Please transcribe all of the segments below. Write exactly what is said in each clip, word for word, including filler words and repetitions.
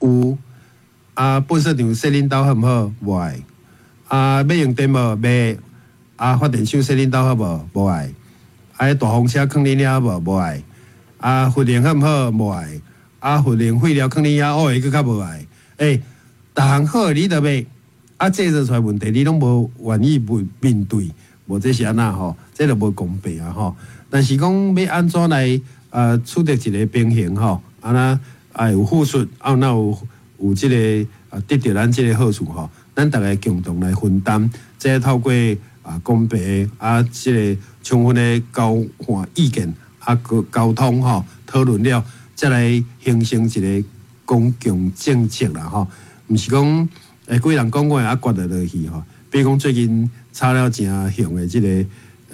有。啊，垃圾場踅恁兜好毋好？無愛。啊，欲用電無？袂。啊，發電廠踅恁兜好無？無愛。啊，彼大風車囥恁遐好無？無愛。啊，核能好毋好？無愛。啊，核能廢料囥恁遐，烏會閣較無愛。欸，逐項好的你都欲，啊，製造出來問題你攏無願意面面對，無這是按怎吼？這就無公平啊吼！但是講欲按怎來啊取得一個平衡吼？按怎啊有付出，啊若有有這個啊得著咱這個好處吼？咱逐家共同來分擔，這透過啊公平啊這個充分的交換意見啊溝溝通吼討論了，才來形成一個公共政策啦吼。毋是講欸幾人講過啊決著落去吼。比如講最近炒了誠紅的這個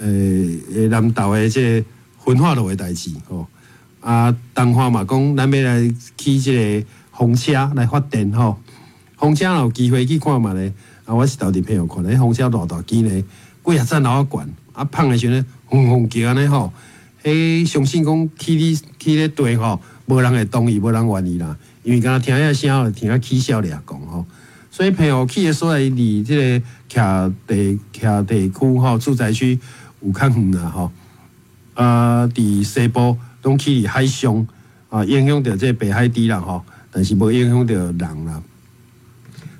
欸南投的這個焚化爐的代誌吼。啊，彰化嘛講咱欲來起這個風車來發電吼。風車若有機會去看覓咧，啊，我是頭佇朋友看咧，風車偌大支呢，幾若層樓仔懸，啊，放的時陣轟轟叫按呢吼。彼相信講起咧起咧地吼，無人會同意，無人願意啦，因為敢若聽彼聲，就聽啊起痟掠講吼。所以澎湖起的所在離這個徛地徛地區吼，住宅區有較遠啦吼。啊，佇西部攏起佇海上啊，影響著這個白海豬啦吼，但是無影響著人啦。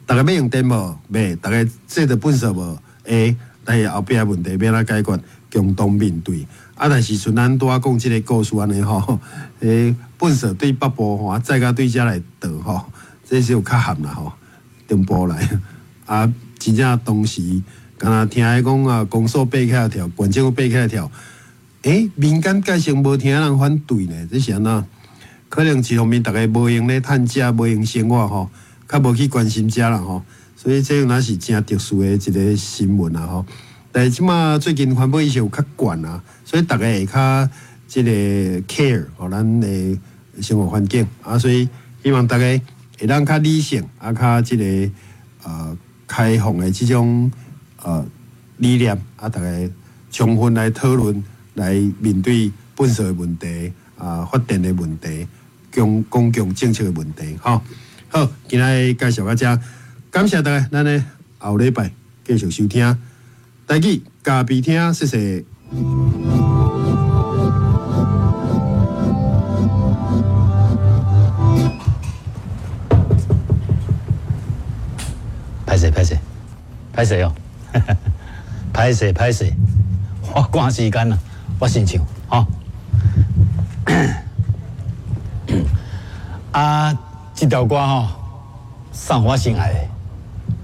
逐家欲用電無？欲。逐家製造垃圾無？會。但是後壁問題欲按怎解決？共同面對。啊，但是像咱拄仔講這個故事按呢吼，彼垃圾對北部吼，載到對遮來倒吼，這是有較譀啦吼，中部來。啊，真正當時敢若聽伊講啊，公所爬起來跳，縣政府爬起來跳，欸，民間界性無聽人反對呢，這是按怎？可能一方面逐家無閒咧趁食，無閒生活吼，較無去關心這啦吼，所以這若是誠特殊的一個新聞啦吼。但是這馬最近環保意識有較懸啊，所以逐家會較這個 care 予咱的生活環境啊，所以希望逐家會當較理性啊，較這個呃開放的這種呃理念啊，逐家充分來討論，來面對垃圾的問題啊，發電的問題，公公共政策的問題，吼。好，今仔介紹到這，感謝大家，咱咧後禮拜繼續收聽。台語咖啡廳，謝謝。歹勢歹勢歹勢哦，歹勢歹勢，我趕時間啦，我先唱吼。啊，這條歌吼，送予我心愛的。